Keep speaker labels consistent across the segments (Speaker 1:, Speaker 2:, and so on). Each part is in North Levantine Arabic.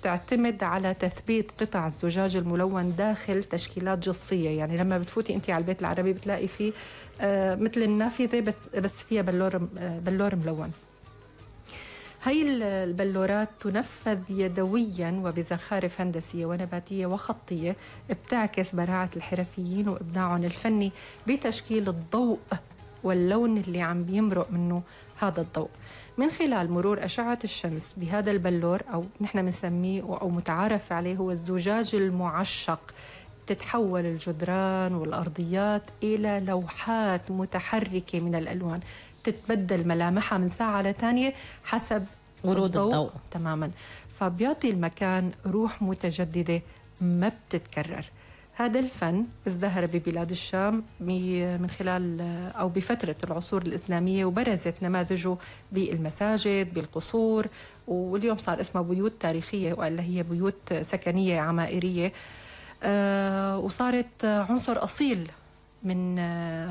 Speaker 1: تعتمد على تثبيت قطع الزجاج الملون داخل تشكيلات جصية. يعني لما بتفوتي انت على البيت العربي بتلاقي فيه مثل النافذة بس فيها بلور ملون. هاي البلورات تنفذ يدويا وبزخارف هندسية ونباتية وخطية بتعكس براعة الحرفيين وإبداعهم الفني بتشكيل الضوء واللون اللي عم بيمرق منه هذا الضوء من خلال مرور أشعة الشمس بهذا البلور، أو نحن بنسميه أو متعارف عليه هو الزجاج المعشق. تتحول الجدران والأرضيات إلى لوحات متحركة من الألوان، تتبدل ملامحها من ساعة لتانية حسب
Speaker 2: ورود الضوء
Speaker 1: تماما، فبيعطي المكان روح متجددة ما بتتكرر. هذا الفن ازدهر ببلاد الشام من خلال أو بفترة العصور الإسلامية، وبرزت نماذجه بالمساجد بالقصور، واليوم صار اسمها بيوت تاريخية وإلا هي بيوت سكنية عمائرية، وصارت عنصر أصيل من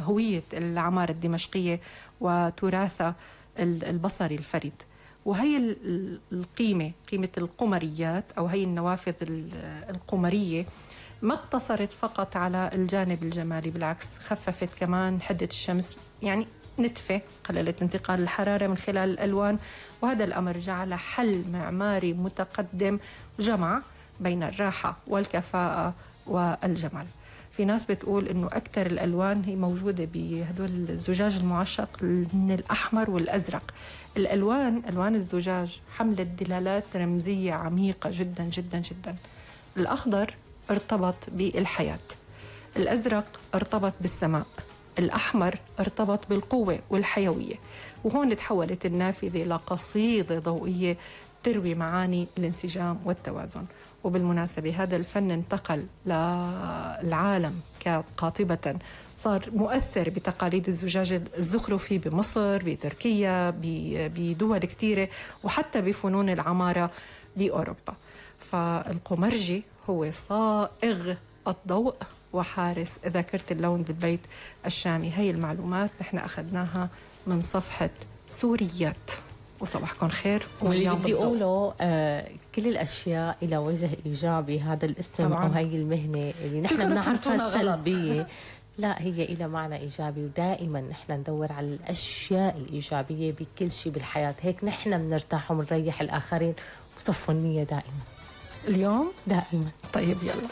Speaker 1: هوية العمارة الدمشقية وتراثها البصري الفريد. وهي قيمة القمريات أو هي النوافذ القمرية ما اقتصرت فقط على الجانب الجمالي، بالعكس خففت كمان حدة الشمس، يعني نتفة، قللت انتقال الحرارة من خلال الألوان. وهذا الأمر جعل حل معماري متقدم جمع بين الراحة والكفاءة والجمال. في ناس بتقول إنه أكثر الألوان هي موجودة بهدول الزجاج المعشق من الأحمر والأزرق. ألوان الزجاج حملت دلالات رمزية عميقة جدا جدا جدا. الأخضر ارتبط بالحياة، الأزرق ارتبط بالسماء، الأحمر ارتبط بالقوة والحيوية. وهون تحولت النافذة لقصيدة ضوئية تروي معاني الانسجام والتوازن. وبالمناسبة هذا الفن انتقل للعالم قاطبة، صار مؤثر بتقاليد الزجاج الزخرفي بمصر، بتركيا، بدول كتيرة، وحتى بفنون العمارة بأوروبا. فالقمرجي هو صائغ الضوء وحارس ذاكرة اللون بالبيت الشامي. هاي المعلومات نحن أخذناها من صفحة سوريات. وصباحكم خير.
Speaker 2: واللي بدي أقوله كل الأشياء إلى وجه إيجابي. هذا الاسم أو هاي المهنة اللي نحن بنعرفها سلبية، لا هي إلى معنى إيجابي. ودائما نحن ندور على الأشياء الإيجابية بكل شيء بالحياة، هيك نحن بنرتاح وبنريح الآخرين. وصفوا النية دائما
Speaker 1: اليوم
Speaker 2: دائما.
Speaker 1: طيب يلا.